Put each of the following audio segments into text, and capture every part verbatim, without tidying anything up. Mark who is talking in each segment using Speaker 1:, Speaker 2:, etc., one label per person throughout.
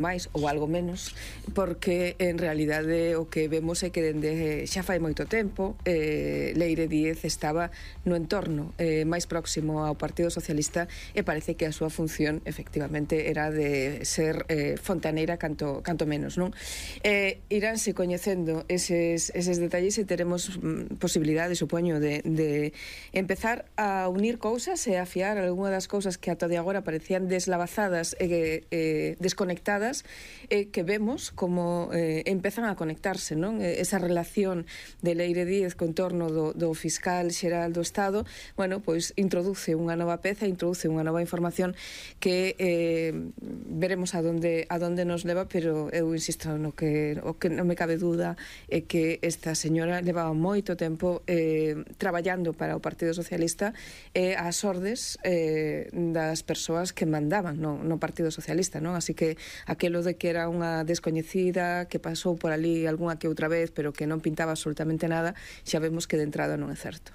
Speaker 1: máis ou algo menos, porque en realidade o que vemos é que dende xa fai moito tempo eh, Leire Díez estaba no entorno eh, máis próximo ao Partido Socialista e parece que a súa función efectivamente era de ser eh, fontaneira canto, canto menos, non? Eh, iránse coñecendo eses, eses detalles e teremos mm, posibilidade, supoño, de, de empezar a unir cousas e a fiar algunha das cousas que ata de agora parecían deslavazadas e eh, desconectadas, eh, que vemos como eh, empezan a conectarse, non? Esa relación de Leire Díez con torno do, do fiscal xeral do Estado, bueno, pois introduce unha nova peza, introduce unha nova información que eh, veremos a donde, a donde nos leva, pero eu insisto no que, o que non me cabe duda é que esta señora levaba moito tempo eh, traballando para o Partido Socialista e eh, ás ordes eh, das persoas que mandaban no, no Partido Socialista, non? Así que aquelo de que era unha descoñecida que pasou por ali algunha que outra vez pero que non pintaba absolutamente nada, xa vemos que de entrada non é certo.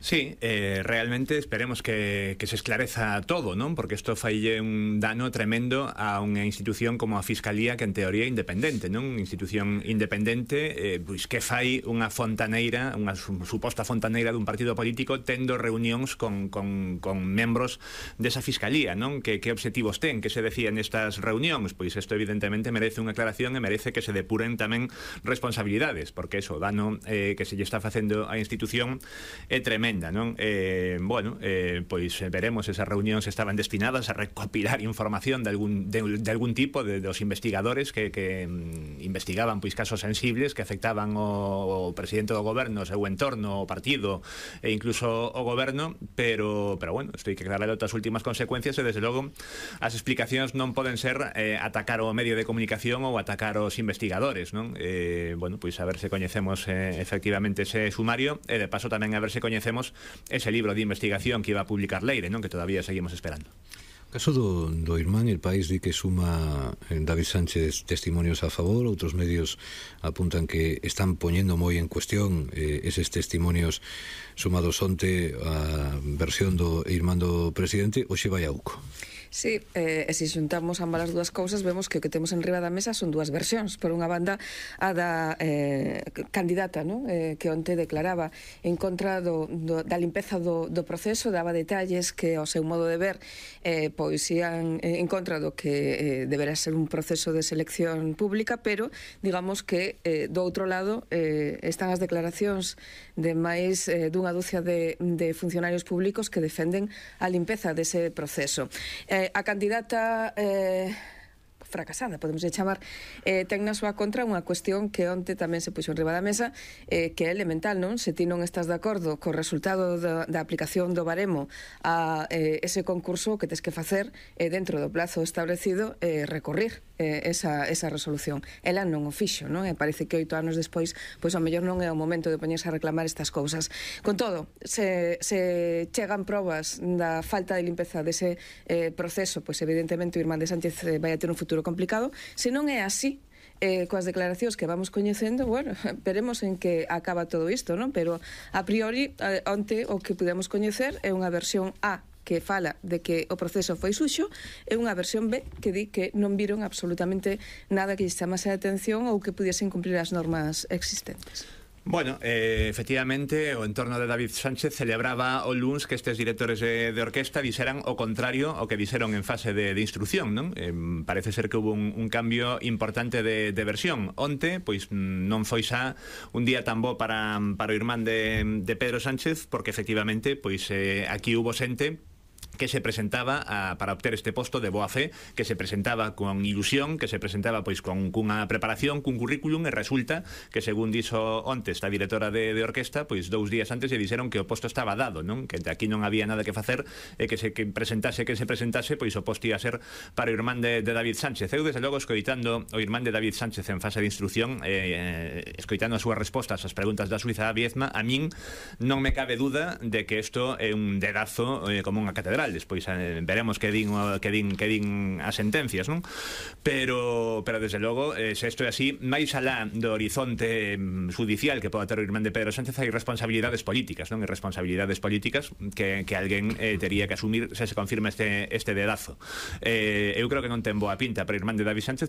Speaker 2: Sí, eh, realmente esperemos que, que se esclareza todo, non? Porque isto faille un dano tremendo a unha institución como a Fiscalía, que en teoría é independente, non? Unha institución independente, eh, pois que fai unha fontaneira, unha suposta fontaneira dun partido político tendo reunións con, con, con membros desa Fiscalía, non? Que, que obxectivos ten, que se decían nestas reunións? Pois isto evidentemente merece unha aclaración e merece que se depuren tamén responsabilidades, porque eso, o dano eh, que se lle está facendo á institución é tremendo. Non? Eh, bueno, eh, pois veremos esas reunións estaban destinadas a recopilar información de algún, de, de algún tipo de, dos investigadores que, que mm, investigaban pois casos sensibles que afectaban o, o presidente do goberno, o seu entorno, o partido e incluso o goberno, pero, pero bueno, isto hai que darle outras últimas consecuencias e desde logo as explicacións non poden ser eh, atacar o medio de comunicación ou atacar os investigadores, non? Eh, bueno, pois a ver se coñecemos eh, efectivamente ese sumario e de paso tamén a ver se coñecemos ese libro de investigación que iba a publicar Leire, non? Que todavía seguimos esperando.
Speaker 3: O caso do, do Irmán, El País di que suma en David Sánchez testimonios a favor, outros medios apuntan que están poñendo moi en cuestión eh, eses testimonios sumados onte a versión do Irmán do presidente, hoxe vai a Uco.
Speaker 1: Sí, eh, e se xuntamos ambas as dúas cousas vemos que o que temos en riba da mesa son dúas versións. Por unha banda, a da eh, candidata, ¿no? eh, que onte declaraba en contra do, do, da limpeza do, do proceso, daba detalles que ao seu modo de ver eh, pois ian en contra do que eh, deberá ser un proceso de selección pública, pero digamos que eh, do outro lado eh, están as declaracións de máis eh, dunha dúcia de, de funcionarios públicos que defenden a limpeza dese proceso. Eh, a candidata eh, fracasada, podemos chamar, eh, ten na súa contra unha cuestión que onte tamén se puxo en riba da mesa, eh, que é elemental, non? Se ti non estás de acordo co resultado da, da aplicación do baremo a eh, ese concurso, que tes que facer eh, dentro do plazo establecido, eh, recorrer eh, esa, esa resolución. Ela non o fixo, non? E parece que oito anos despois, pois ao mellor non é o momento de poñerse a reclamar estas cousas. Con todo, se, se chegan probas da falta de limpeza dese eh, proceso, pois evidentemente o Irmán de Sánchez eh, vai a ter un futuro complicado. Se non é así, eh, coas declaracións que vamos coñecendo, bueno, veremos en que acaba todo isto, non? Pero a priori, eh, onte o que podemos coñecer é unha versión A que fala de que o proceso foi suxo e unha versión B que di que non viron absolutamente nada que lles chamase a atención ou que pudiesen cumplir as normas existentes.
Speaker 2: Bueno, eh, efectivamente, o entorno de David Sánchez celebraba o luns que estes directores de, de orquesta dixeran o contrario ao que dixeron en fase de, de instrucción, non? Eh, parece ser que hubo un, un cambio importante de, de versión. Onte, pois non foi xa un día tan bo para, para o irmán de, de Pedro Sánchez, porque efectivamente, pois eh, aquí hubo xente que se presentaba a, para obter este posto de boa fe, que se presentaba con ilusión, que se presentaba pois con cunha preparación, cun currículum, e resulta que, según dixo onte esta directora de, de orquesta, pois dous días antes lle dixeron que o posto estaba dado, non? Que aquí non había nada que facer e que se que presentase, que se presentase, pois o posto ia ser para o irmán de, de David Sánchez. Eu, desde logo, escoitando o irmán de David Sánchez en fase de instrucción, eh, escoitando as súas respostas ás preguntas da Suiza Viezma, a min non me cabe duda de que isto é un dedazo eh, como unha catedral. Despois eh, veremos que din, que din que din as sentencias, non? Pero, pero desde logo, eh, se isto é así, máis alá do horizonte mm, judicial que poda ter o irmán de Pedro Sánchez, hai responsabilidades políticas, non? E responsabilidades políticas que, que alguén eh, tería que asumir se se confirma este, este dedazo. Eh, eu creo que non ten boa pinta para o irmán de David Sánchez,